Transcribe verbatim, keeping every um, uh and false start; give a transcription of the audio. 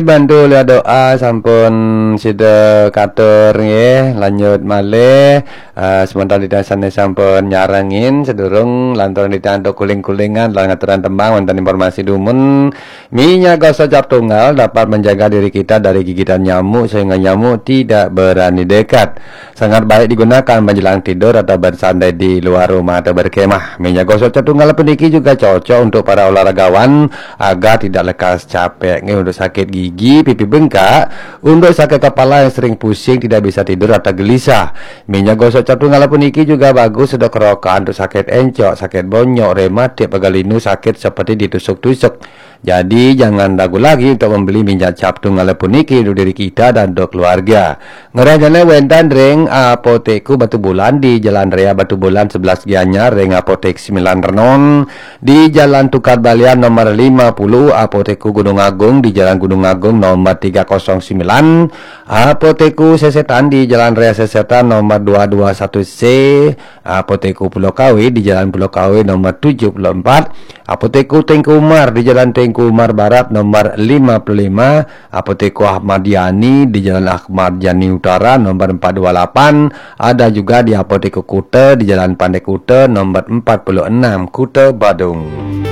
Bantu liwat doa sampun sida katur nggih, lanjut malih. Eh, sementara titiang sané sampun nyarengin sedurung lantaran titiang antuk kuling-kulingan lan ngaturan tembang wonten informasi dumun. Minyak gosok cap tunggal dapat menjaga diri kita dari gigitan nyamuk sehingga nyamuk tidak berani dekat. Sangat baik digunakan menjelang tidur atau bersantai di luar rumah atau berkemah. Minyak gosok cap tunggal puniki juga cocok untuk para olahragawan agar tidak lekas capek. Nggih, untuk sakit gigi, pipi bengkak, untuk sakit kepala yang sering pusing, tidak bisa tidur atau gelisah. Minyak gosok cap tunggal puniki juga bagus untuk kerokan, untuk sakit encok, sakit bonyok, rematik, pegal linu, sakit seperti ditusuk-tusuk. Jadi jangan ragu lagi untuk membeli minyak cap tunggal puniki untuk diri kita dan untuk keluarga. Ngrahayane wénten ring Apotekku Batubulan di Jalan Raya Batubulan sebelas Gianyar, ring Apotek Sembilan Renon di Jalan Tukad Balian nomor lima puluh, Apotekku Gunung Agung di Jalan Gunung Agung nomor tiga kosong sembilan, Apotekku Sesetan di Jalan Raya Sesetan nomor dua dua satu C, Apotekku Pulau Kawe di Jalan Pulau Kawe nomor tujuh puluh empat, Apotekku Tengku Umar di Jalan Tengku Umar Barat nomor lima puluh lima, Apotekku Ahmad Yani di Jalan Ahmad Yani Utara nomor empat dua lapan, ada juga di Apotekku Kuta di Jalan Pantai Kuta nomor empat puluh enam, Kuta Badung.